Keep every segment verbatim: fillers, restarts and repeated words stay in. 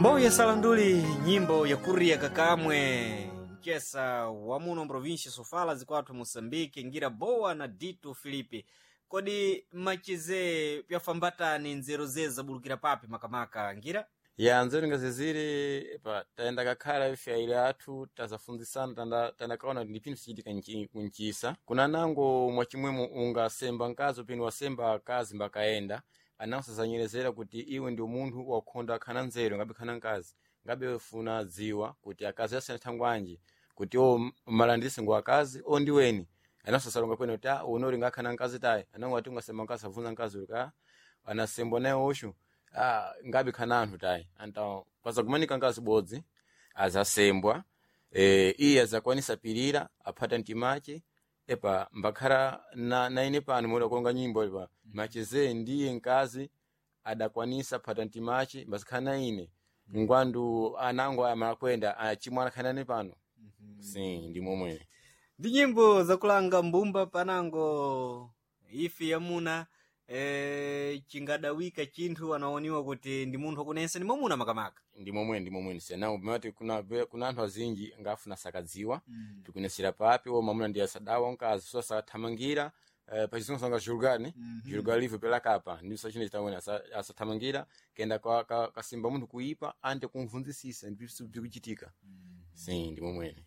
Mboya Salanduli, nyimbo ya kuria kakamwe mchesa wa muno mprovinsia Sofala zikwathu Moçambique, ngira boa na Dito Filipe. Kodi machize pyafambatani nzeru zeze zabulukira papi makamaka ngira? Ya nzeru ngaziziri pa tayenda kakhala ife aile athu tazafunzisana tanda tandakaona kuti ndi pinthu sichitika nchi- kunchisa kuna nango mwachimwemo ungasemba mkazi upini wasemba akazi mbakaenda ananso azanyerezera kuti iwe ndi munthu wakhonda akhana nzeru ngabe khana mkazi ngabe funa dziwa kuti akazi asiyana thangwanji kuti o malandise ngo akazi o ndiweni ananso asalonga kwene kuti ah unori ngakhana mkazi tayi anango ati ungasemba mkazi avunza mkazi uli ka anasembwa naye osho ah, ngabe khana anthu tayi anta pazakumanika ngazi bodzi azasembwa e, iye azakwanisa pirira aphata mtimache epa mbakhala na, na ine pano moda kuonga nyimbo epa macheze ndiye nkazi adakwanisa phata mtimache mbazikhala na ine ngwandu anango aya malakwenda achimwana khanani pano si ndi momwe Ndi nyimbo zakulanga mbumba panango ife yamuna e, chingadawika chinthu anaoniwa kuti ndi munthu wakunensa ndi mwamuna makamaka. ndi momwe ndi momwe sena mati kuna kuna anthu azinji ngafuna sakadziwa mm. tikunesera papi o mamuna ndi asadawa mkazi so asathamangira eh, pachizungu sanga julgani mm -hmm. julga livre pela kapa ndi sachine chitawena asathamangira kenda kwa ka, kasimba munthu kuipa ante kumvunzisisa ndi bikuchitika mm. si ndi momwene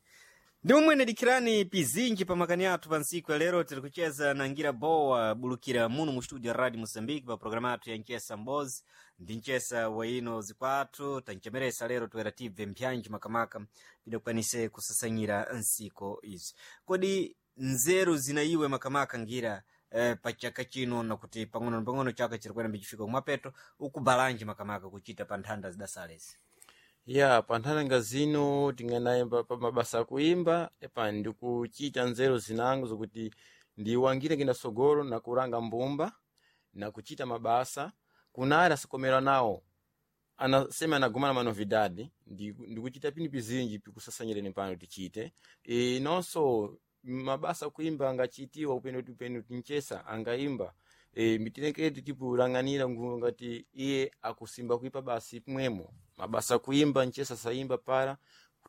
Ndi momwene dikhirani pizinji pa makani athu pa ntsiku ya lero tiri kucheza na ngira bowa bulukira muno mu studio ya radio Moçambique pa programa athu ya nchesa mbozi ndi nchesa wa ino zikwathu tanchemeresa lero toera tibve mpyanji makamaka pidakwanise kusasanyira nsiko izi kodi nzeru zina iwe makamaka ngira eh, pa chaka chino nakuti pang'ono na pang'ono chaka chiri kuyenda mbicifika kumapeto ukubalanji makamaka kuchita pa nthanda zidasalezi ya pa nthanda zino tinganayimba pa mabasa akuimba epa ndikuchita nzeru zinango zokuti ndiwangire kenda sogolo nakuranga mbumba nakuchita mabasa kunali asakomera nawo anasema anagumana manovidade ndi- ndikuchita pini pizinji pikusasanyireni pano tichite e, nonso mabasa akuimba angachitiwa upeno upeno tinchesa angaimba e, mitileketi tipulang'anira nguvu ngati iye akusimba kuipa basi pimwemo mabasa kuimba nchesa saimba para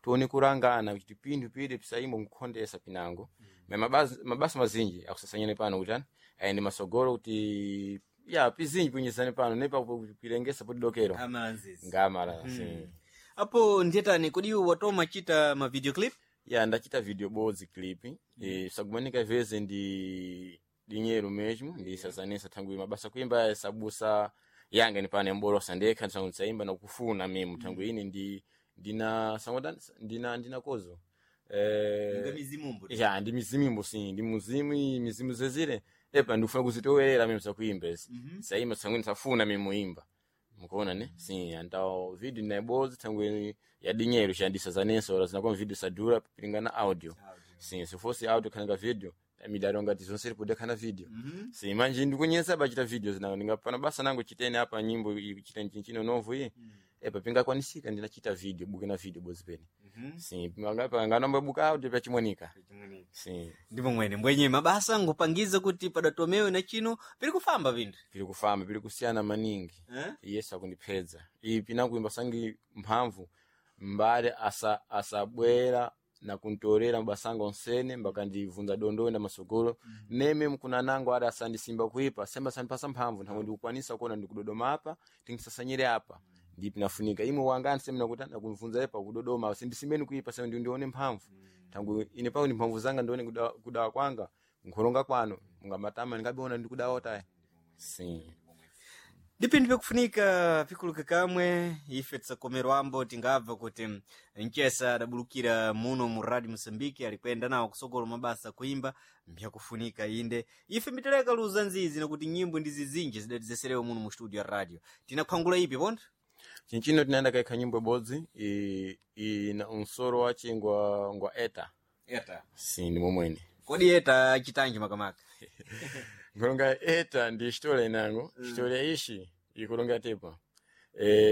tione kurangana kuti pinthu pide pisaimba nkukhondesa pinango mm. mabasa, mabasa mazinji akusasanyane pano kuti ani ayende masogolo kuti ya pizinji pinyesane pano nepa pilengesa potidokero amalanzizi ngamala mm. si. apo ndiyetani kodi iwe watoma chita ma video clip ya ndachita video bodzi clip mm. e, sakumanika veze ndi dinheiro mesmo ndi sasanisa thangwi mabasa kuimba sabusa yanga ni pane mbolosa ndekha ndisangwe ndisaimba nakufuna mimo thangwi ine ndi ndina sangwe ndina ndina kozo eh mizimumbo ya ndi mizimimbo sim ndi muzimu mizimu zezire epa ndikufuna kuzitowerera mimo sakuimba ezi mm -hmm. saimba sangwe ndisafuna mimo imba mukuona ne sim antao video naibodzi thangwi ya dinheiro xandisazanenso ora zinakuwa video sadura pilingana audio sim se fosse audio khananga video midalo ngati zonse lipoda khana video mm -hmm. sim manje ndikunyesa bachita video zinango ndingapano basa nango chitene apa nyimbo iyi, chitene chinchino novo iyi mm. epa pingakwanisika ndinachita video buke na video bodzi pene mm -hmm. sim ngapa nganomba buka audio pachimwanika sim ndi momwene mbwenye mabasa ngupangiza kuti padatomewe na chino piri kufamba pinthu pili kufamba pili kusiyana maningi Eh? yesu akundipedza iyi pinakuimba sangi mphamvu mbale asa asabwera na kuntorera mabasanga onsene mbakandivunza dondo enda masogolo mm. neme mkuna nango ada asandisimba kuipa semba sandipasa mphamvu nthamwe ndikukwanisa kuona ndikudodoma apa tingisasanyire apa mm. ndipo nafunika imwe wangani seme nakuti nakumvunza epa kudodoma sindisimbeni kuipa seme ndi ndione mphamvu mm. tangu ine pako ndi mphamvu zanga ndione kudawa, kudawa kwanga nkholonga kwano mungamatama ndingabiona ndikudawa tayi sim ndi pinthu pyakufunika pikuluka kamwe ife tisakomerwambo tingabva kuti mchesa adabulukira muno mu radio Moçambique alikwenda nawo kusogolo mabasa kuimba mbyakufunika inde ife miteleka luza nzizi nakuti nyimbo ndi zizinji zidatizeserewa muno mu studio ya radio tinakhwangula ipi pontho chinchino tinaenda kaikha nyimbo ibodzi i- ina unsoro wache ngwa ngwa eta eta si ndi momwene kodi eta achitanji makamaka nkulonga eta ndi xitola inango xitola ishi ikulonga tepa e,